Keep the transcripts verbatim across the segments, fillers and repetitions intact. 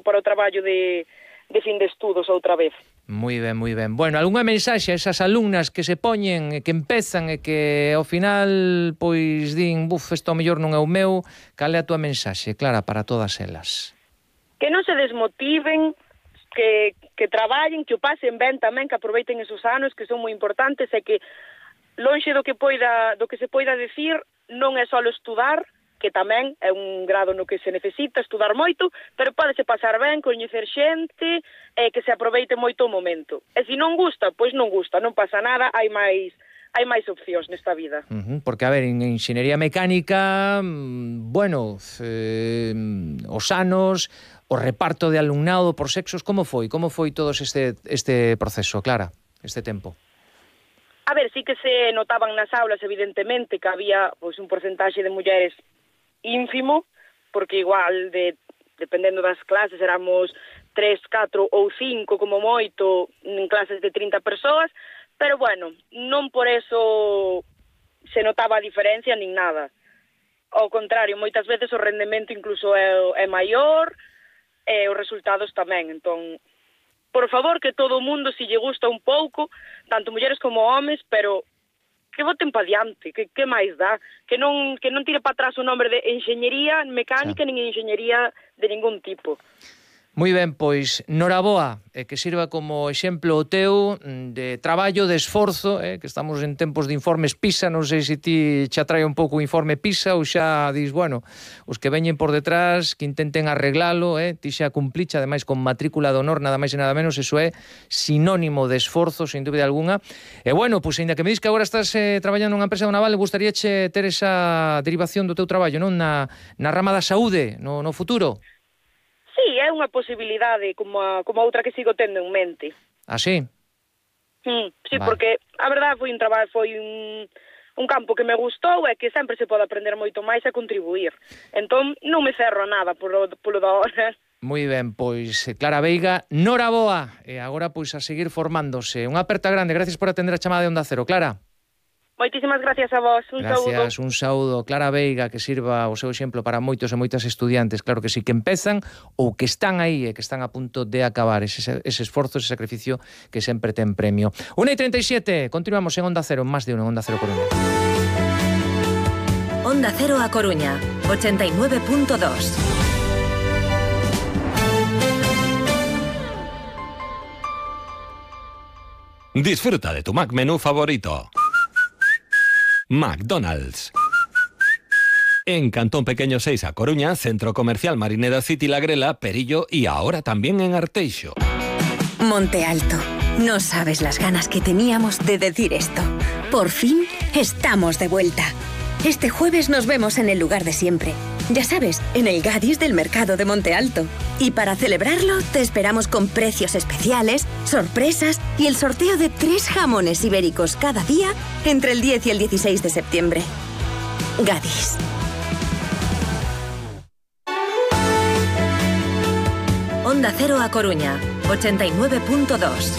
para o traballo de, de fin de estudos outra vez. Moi ben, moi ben. Bueno, algunha mensaxe a esas alumnas que se poñen e que empezan e que ao final pois din, buf, isto ao mellor non é o meu, cal é a túa mensaxe, Clara, para todas elas? Que non se desmotiven, que, que traballen, que o pasen ben tamén, que aproveiten esos anos que son moi importantes e que lonxe do que poida, do que se poida decir, non é só estudar, que tamén é un grado no que se necesita estudar moito, pero pódese pasar ben, coñecer xente, e que se aproveite moito o momento. E se non gusta, pois non gusta, non pasa nada, hai máis hai máis opcións nesta vida. Uh-huh, porque, a ver, en enxeñería mecánica, bueno, eh, os anos, o reparto de alumnado por sexos, como foi? Como foi todo este, este proceso, Clara, este tempo? A ver, sí que se notaban nas aulas, evidentemente, que había pois un porcentaxe de mulleres ínfimo, porque igual, de, dependendo das clases, éramos tres, catro ou cinco como moito en clases de trinta persoas, pero bueno, non por eso se notaba a diferencia nin nada. Ao contrario, moitas veces o rendemento incluso é, é maior e os resultados tamén. Entón, por favor, que todo o mundo, se lle gusta un pouco, tanto mulleres como homes, pero que voten pa diante, que, que máis dá, que non, que non tire para atrás o nombre de enxeñería mecánica, sí, nin enxeñería de ningún tipo. Moi ben, pois, noraboa, e que sirva como exemplo o teu de traballo, de esforzo, eh, que estamos en tempos de informes PISA, non sei se ti xa trae un pouco o informe PISA ou xa dis, bueno, os que veñen por detrás, que intenten arreglalo, eh, ti xa cumplicha, ademais con matrícula de honor, nada máis e nada menos, eso é sinónimo de esforzo, sin dúbida alguna. E bueno, pois, ainda que me dis que agora estás eh, traballando nunha empresa do naval, gustaríache ter esa derivación do teu traballo, non? Na, na rama da saúde, no, no futuro? Sí, é unha posibilidade como a, como a outra que sigo tendo en mente. Ah, sí? Mm, sí, vale. Porque a verdade foi un traballo, foi un, un campo que me gustou e que sempre se pode aprender moito máis e contribuir. Entón, non me cerro a nada polo, polo da hora. Moi ben, pois, Clara Veiga, noraboa, e agora pois a seguir formándose. Unha aperta grande, gracias por atender a chamada de Onda Cero, Clara. Moitísimas gracias a vos, un gracias, saúdo. Gracias, un saúdo. Clara Veiga, que sirva o seu exemplo para moitos e moitas estudiantes, claro que sí, que empezan ou que están aí e que están a punto de acabar ese, ese esforzo, ese sacrificio que sempre ten premio. una e treinta e sete, continuamos en Onda Cero, máis de uno en Onda Cero Coruña. Onda Cero a Coruña, ochenta y nueve punto dos. Disfruta de tu Mac menú favorito. McDonald's. En Cantón Pequeño seis a Coruña, Centro Comercial Marineda City La Grela, Perillo y ahora también en Arteixo. Monte Alto. No sabes las ganas que teníamos de decir esto. Por fin estamos de vuelta. Este jueves nos vemos en el lugar de siempre. Ya sabes, en el Gadis del Mercado de Monte Alto. Y para celebrarlo, te esperamos con precios especiales, sorpresas y el sorteo de tres jamones ibéricos cada día entre el diez y el dieciséis de septiembre. Gadis. Onda Cero a Coruña, ochenta y nueve punto dos.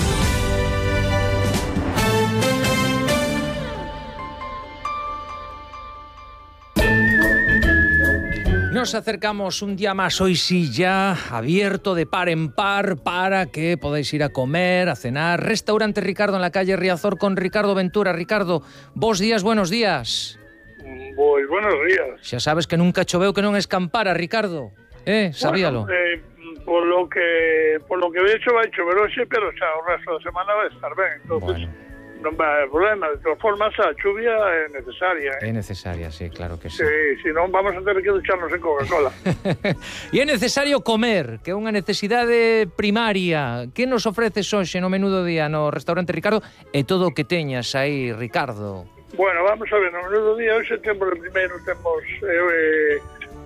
Nos acercamos un día más, hoy sí ya abierto de par en par para que podáis ir a comer, a cenar. Restaurante Ricardo en la calle Riazor con Ricardo Ventura. Ricardo, bos días, buenos días. Pois buenos días. Xa sabes que nunca choveu que non escampara, Ricardo. Eh, sabíalo. Bueno, eh, por lo que por lo que vexo vai chover hoxe, pero xa o resto da semana vai estar ben. Entonces, bueno, non vai haber problema. De todas formas, a chuvia é necesaria. É ¿eh? necesaria, sí, claro que sí. Sí, si non vamos a ter que ducharnos en Coca-Cola. E é necesario comer, que é unha necesidade primaria. Que nos ofreces hoxe no menú do día no restaurante Ricardo e todo o que teñas aí, Ricardo? Bueno, vamos a ver, no menú do día hoxe temos, primeiro temos eh,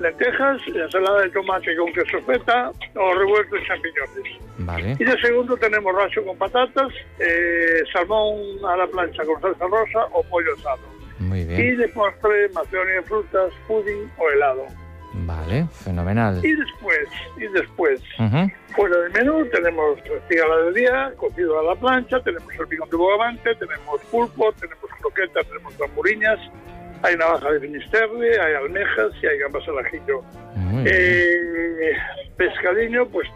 lentejas, ensalada de tomate con queso feta o revuelto de champiñones. Vale. Y de segundo tenemos racho con patatas, eh, salmón a la plancha con salsa rosa o pollo asado. Muy bien. Y de postre, macedonia de frutas, pudding o helado. Vale, fenomenal. Y después, y después, uh-huh. fuera del menú tenemos cigala del día, cocido a la plancha, tenemos salpicón de bogavante, tenemos pulpo, tenemos croquetas, tenemos tamburiñas, hay navaja de finisterre, hay almejas y hay gambas al ajillo. Eh, pescadillo, pues